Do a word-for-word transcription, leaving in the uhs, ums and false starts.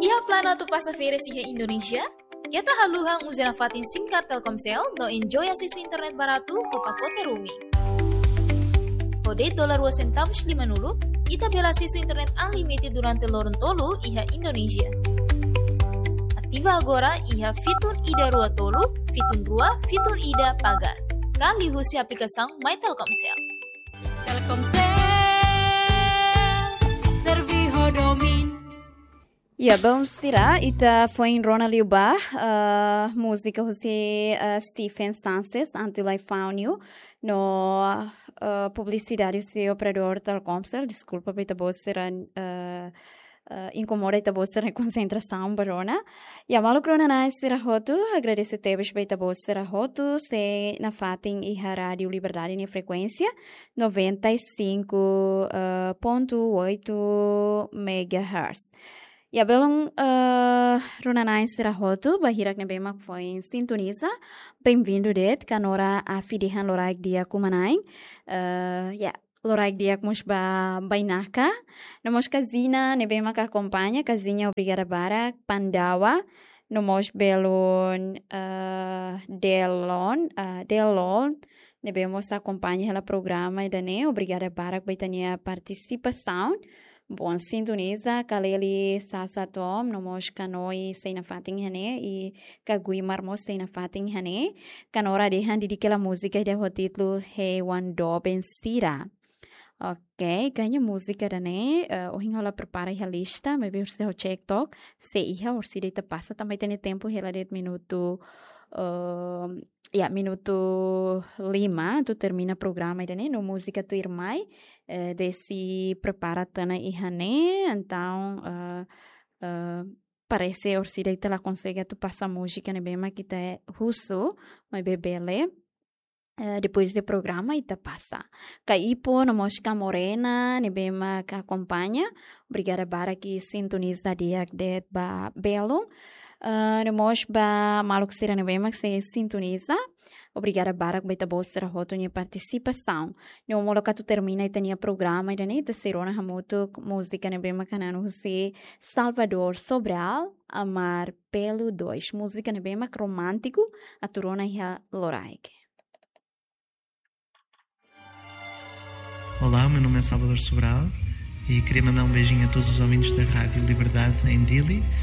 Iha planu atu pasa férias iha Indonézia? Keta haluha uza nafatin SIM card Telkomsel no enjoy asesu internet baratu ho pakote roaming. Ho de'it dolar rua sentavus limanulu, ita bele asesu internet unlimited durante loron tolu iha Indonézia. Ativa agora iha fitun ida rua tolu, fitun rua, fitun ida pagar. Ka liuhusi aplikasaun My Telkomsel. Telkomsel, servi ho domin. Ya, belun sira, ita foin rona liu ba, eh, múzika husi, eh, Stephen Sanchez, Until I Found You, no, eh, publisidade husi operadór Telkomsel, deskulpa ba ita-boot sira, eh, eh, inkomoda ita-boot sira-nia konsentrasaun ba rona. Ya, maluk rona-na'in sira hotu, agradese tebes ba ita-boot sira hotu sei nafatin iha Rádio Liberdade nia frekuénsia, noventa e cinco, eh, ponto oito megahertz. Ya, belun, eh, rona-na'in sira hotu, ba hirak ne'ebé mak foin sintoniza, bem-vindo de'it, kanora afi dehan loraik di'ak uma-na'in. Eh, ya, loraik di'ak mós ba bainaka. No mós kazina ne'ebé mak akompaña, kazina obrigada barak, Pandawa. No mós belun, eh, Delon, eh, Delon, ne'ebé mós akompaña hela programa ida-ne'e, obrigada barak ba ita-nia partisipasaun. Bon sintoniza, Kaleli Sasa Tom, no mós Kanoi sei nafatin iha ne'e, i Ka Guimar mós sei nafatin iha ne'e. Kanora dehan didik hela múzika ida ho títulu Hewan Doben Sira. Ok, kayaknya múzika ida-ne'e, eh, ohin ha'u la prepara iha lista, maibé orsida ha'u cek took, se iha orsida ita pasa, tanba ita-nia tempu hela de'it minutu, eh, ya, minutu lima, atu termina programa ida-ne'e, no múzika tuirmai, eh, Desi prepara tiha ona iha ne'e, entaun, eh, eh, parese orsida ita la konsege atu pasa múzika ne'ebé mak ita husu, maibé bele, eh, depois de programa ita pasa. Ka Ipo no mós Ka Morena ne'ebé mak akompaña, obrigada barak i sintoniza di'ak de'it ba belun. Eh, no mós ba maluk sira ne'ebé mak sei sintoniza, obrigada barak ba ita-boot sira hotu nia partisipasaun. No molok atu termina ita-nia programa ida-ne'e, ita sei rona hamutuk múzika ne'ebé mak hananu husi Salvador Sobral, Amar Pelo Dois. Múzika ne'ebé mak romántiku, atu rona iha loraik. Olá, meu nome é Salvador Sobral e queria mandar um beijinho a todos os ouvintes da Rádio Liberdade em Dili.